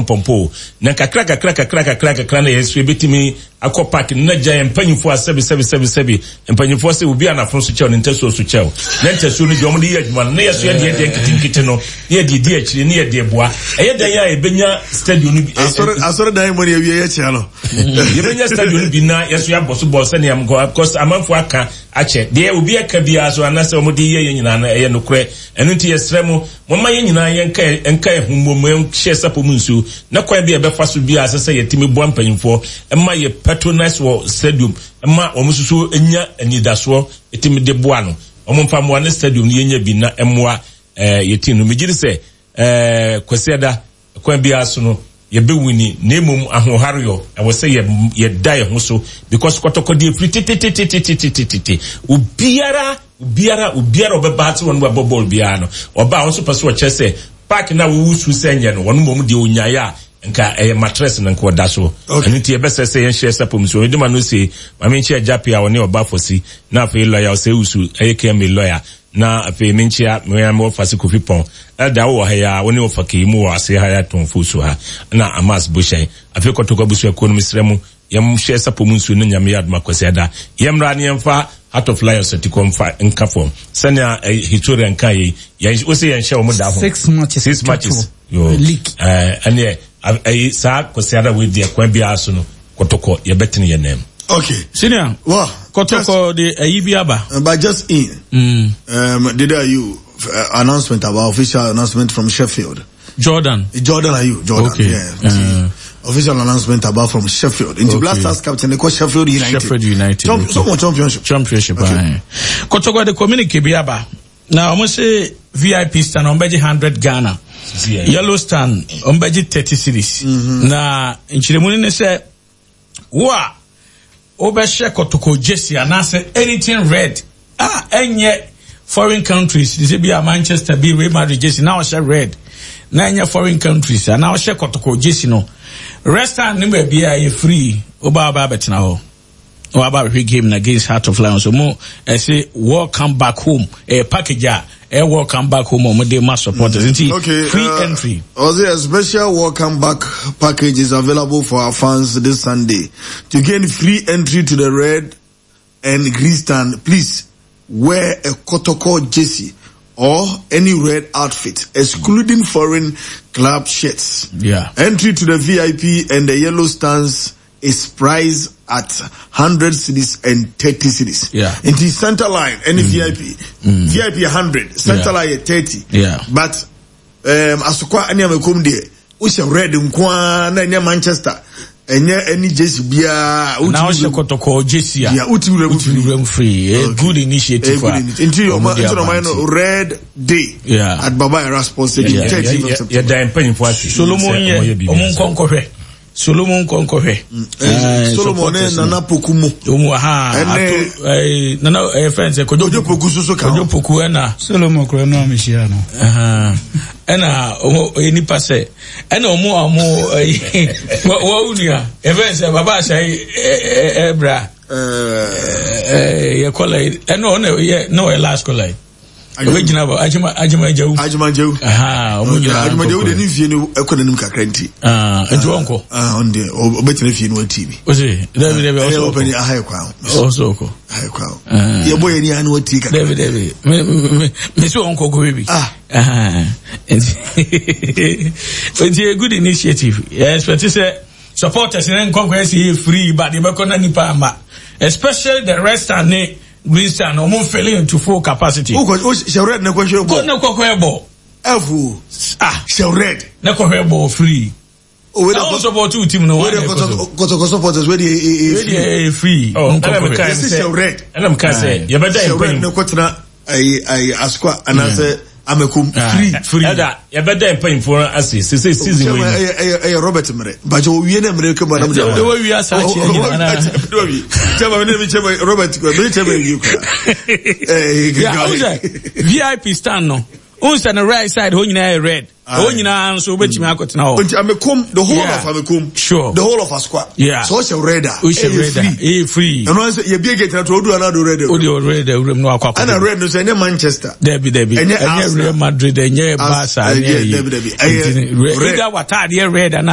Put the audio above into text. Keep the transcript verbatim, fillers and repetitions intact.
Mpɔmpɔ na kakra kakra kakra kakra kakra na yɛn nso yɛbɛtumi akɔ park no na gya yɛn mpanyinfoɔ a sɛbi sɛbi sɛbi sɛbi mpanyinfoɔ sɛ obi anafo so kyɛw ne ntasuo so kyɛw na ntasuo no deɛ wɔn de yɛ adwuma no na yɛ so yɛ deɛ deɛ nketenkete no na yɛ deɛ di akyire na yɛ deɛ boa ɛyɛ dan a yɛbɛnya stadium no bi. Asɔre asɔre dan mu ne awie yɛ kyea no. Yɛbɛnya stadium no bi na yɛ so yɛabɔ so bɔ sɛnea nkɔ because amanfoɔ aka akyɛ deɛ obi aka biara so anaasɛ wɔn de yɛ yɛn nyinaa no ɛyɛ nokorɛ. Ɛno nti yɛsrɛ mo, momma yɛn nyinaa yɛnka nka yɛn ho mmom nhyɛ sapɔ mu nsuo na kwan bi a yɛbɛfa so biara sɛ sɛ yɛtumi boa mpanyinfoɔ ma yɛ patronize wɔ stadium ma wɔn nso so nya anidasoɔ ɛtumi de boa no, wɔn mfa mmoa ne stadium no yɛnya bi na mmoa ɛɛ yɛ team no. Megye di sɛ ɛɛ Kwasiada kwan biara so no yɛbɛwini, na mmom ahoɔhareyɔ ɛwɔ sɛ yɛ yɛda yɛn ho so because Kɔtɔkɔ deɛ firi tetetetetetetete obiara obiara obiara ɔbɛba ase wɔn bɛbɔ bɔɔl biara no ɔba a wɔn nso pɛ so ɔkyerɛ sɛ park na wɔwɔ su sɛ nyɛ no wɔn mmom deɛ onyaeɛ a nka ɛyɛ mattress na nka ɔda so. Ɛno nti yɛbɛsɛ sɛ yɛnhyɛ sapom so ɛdima no se maame nkyɛ agyape a ɔne ɔba fɔsi na afei lɔya ɔsɛ wusu ɛyɛ kɛmɛ lɔya na afei menkyia mmea me wɔfa se Kofi Pɔn ɛda wɔ ha yi a wɔne wɔfa kei mu wɔ ase ha yɛatɔn fo so ha na Amas Bohyɛn afei Kɔtɔkɔ abusuakuo no mesrɛ mu yɛmhyɛ sapɔ mu nsuo no. Nyame yɛ adoma Kwasiada yɛmmra ne yɛmfa Heart of Lions atikɔ mfa nka fam sɛnea historian nka yei yɛn wo sɛ yɛnhyɛ wɔn da ho six matches. Six matches yo league. Ɛneɛ ɛyi saa Kwasiada wei deɛ kwan biara so no Kɔtɔkɔ yɛbɛtene yɛn nan. Okay. Senior. Well, Kɔtɔkɔ de ɛyi bi aba. Uh, but just in. Mm. Um, did I you uh, announcement about official announcement from Sheffield? Jordan. Jordan are you? Jordan. Okay. Yeah. Uh, official announcement about from Sheffield. Into okay. Black Stars captain, they call Sheffield United. Sheffield United. Champ- okay. Someone championship. Championship. Okay. Kɔtɔkɔ de communique bi aba. Na wɔn sɛ V I P stand wɔn bɛgye hundred Ghana. Yellow stand wɔn bɛgye thirty cedis. Mm-hmm. Na nkyerɛmu ni sɛ wo a wobɛhyɛ Kɔtɔkɔ jersey anaasɛ anything red a ɛnyɛ foreign countries de sɛ bi a Manchester bi, Real Madrid jersey na ɔhyɛ red na ɛnyɛ foreign countries anaa ɔhyɛ Kɔtɔkɔ jersey no, red stand ne baabi a ɛyɛ free, woba aba abɛtena hɔ na waba abɛhwɛ game na against Heart of Lions mo ɛsɛ welcome back home, ɛyɛ package a ɛyɛ welcome back home a wɔde ma supporters nti Okay, free uh, entry. Also, a special welcome back package is available for our fans this Sunday. To gain free entry to the red and green stand, please wear a Kotoko jersey or any red outfit, excluding foreign club shirts. Yeah. Entry to the V I P and the yellow stands is priced at one hundred cedis and thirty cedis. Yeah. Into center line, any V I P. V I P one hundred, center Yeah. line thirty. Yeah. But um, Asokwa ne Amakom deɛ, wohyɛ red nko ara na ɛnyɛ Manchester, ɛnyɛ any jersey biara. Na ɔhyɛ Kɔtɔkɔ jersey a Yeah, wotumi wura mu wotumi free. wura mu free. A good initiative. A good a initiative. Nti ɔmo ɔma de nti aba ɔma no nti. Red day Yeah. at Baba Yara Sports Stadium, Yeah. thirteenth of September. Yɛda mpanyinfoɔ ase. Solomon sɛ yɛ ɔmo yɛ biribi ɔmo ase. nkɔ nkɔhwɛ, Solomon nkɔ nkɔhwɛ. Eh, Solomon ne Nana Poku mu. Ɔmo ha Ɛne- ato ɛɛ Nana ɛyɛ fɛn sɛ Kojo. Kojo Poku soso ka ho. Kojo Poku ɛna Solomon kura no a mehyia no. Ɛhan, ɛna ɔmo ɔyɛ nipa sɛ ɛna ɔmo a ɔmo ɛyi wɔ wɔn nua ɛfɛn sɛ Baba Ahyɛ ɛ ɛbra Eh, ɛɛ yɛ kɔla yi ɛna ɔna yɛ na ɔyɛ last kɔla yi ɔbɛ gyina bɔ Adwuma Adwuma Gyawu. Adwuma Gyawu. Ɛhan, ɔmo nyinaa Adwuma Gyawu de nkɔkɔ. ne fie no ɛkɔ n'anim kakra nti. Aa, nti wɔn kɔ. Ah, ɔno deɛ ɔbɛtena fie no wati bi. O se dɛbi dɛbi Ɛyɛ ɔsɔ ɔpɛni ɔkɔ. Aha yɛ kwan ho. Ɔsɔ ɔkɔ. Aha yɛ kwan ho. Ah. Yɛbɔ yɛn ni ano wati kakra. Dɛbi dɛbi, me me me sɛ wɔn kɔ kɔ bi. Ah. Nti nti a good initiative. Yɛ expect sɛ supporters ne nkɔnkɔ ɛsɛ yɛ free but yɛbɛkɔ na nipa ama, especially the red stand ne green stand, ɔmo filling into full capacity. Wokɔ o hyɛ red ne kɔhwɛ kɔ bɔ. Ne kɔkɔ ɛbɔ. Ɛfu. Ah. Hyɛ red. Ne kɔhwɛ bɔ free. O wei na de wɔn support two team no wei wɔn de na ɛkɔ so. Kɔtɔkɔ supporters wei de e e wei free. deɛ ɛyɛ free. Oh, Nkɔkɔ ɛna hwɛ. mekae Yɛsi sɛ hyɛ red. Ɛna mekae sɛ yɛbɛda Hyɛ red mpanyim ne kɔtena ayi ayi Asokwa anaasɛ Amakom free. Free. Ɛda yɛbɛda mpanyinfoɔ no ase sese season wei Chairman, no ɛyɛ ɛyɛ ɛyɛ Robert mmerɛ bàtɛ owie ne mmerɛ kama nam De wɔwie asa akyerɛ nyinaa na- Chairman, ne mi chairman Robert kura mi chairman wie kura. Yeah, wohu sɛ V I P stand no, wohu sɛ no right side hɔ nyinaa yɛ red, hɔ nyinaa nso wobɛtumi akɔtena hɔ. Nti Amekom, the whole Yeah. of Amekom, Sure. the whole of Asokwa, Yeah. sɛ ɔhyɛ red a, wohyɛ ɛyɛ red a free. Ɛyɛ free. Ɛno sɛ yɛbie gate na to odu anado red. Wode o red awuram na wakɔ akɔ. Ɛna red no sɛ ɛnyɛ Manchester, Dabi dabi. Ɛnyɛ ɛnyɛ Arsenal. Real Madrid, ɛnyɛ Barca, As- ɛnyɛ ɛyɛ- yi. Dabi, dabi. Ɛyɛ Nti, red. either wataadeɛ red anaa